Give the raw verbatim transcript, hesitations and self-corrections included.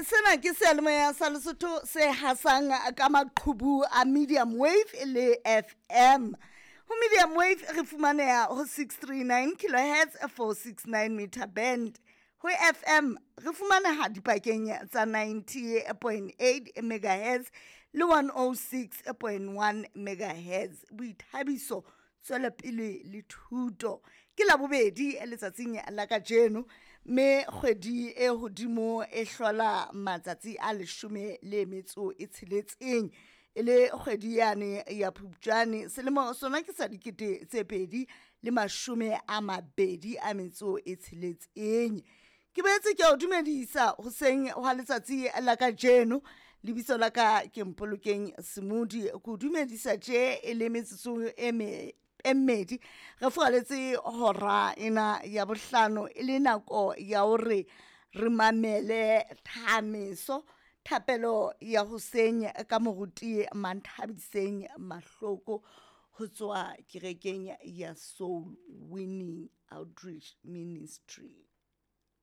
Sena ke seyalemoya sa Lesotho se hasang ka maqhubu a medium wave le F M. Ho medium wave re fumaneha ho six three nine kilohertz, four six nine meter band. Ho F M re fumaneha dipakeng tsa ninety point eight megahertz le one oh six point one megahertz. Boithabiso, tswelopele le thuto. Ke Labobedi letsatsing la kajeno, mme kgwedi e hodimo e hlola matsatsi a leshome le metso e tsheletseng, e le kgwedi yane ya Phupjane, selemo sona ke sa dikete tse pedi le mashome a mabedi a metso e tsheletseng. Ke boetse ke o dumedisa hoseng hwa letsatsi la kajeno. Lebitso la ka ke Mpolokeng Semodi. Ke o dumedisa tje e le metsotso e me e mmedi re furaletse hora ena ya bohlano, e le nako ya hore re mamele thameso, thapelo ya hoseng ka moruti Manthabiseng Mahloko ho tswa kerekeng ya Soul Winning Outreach Ministry.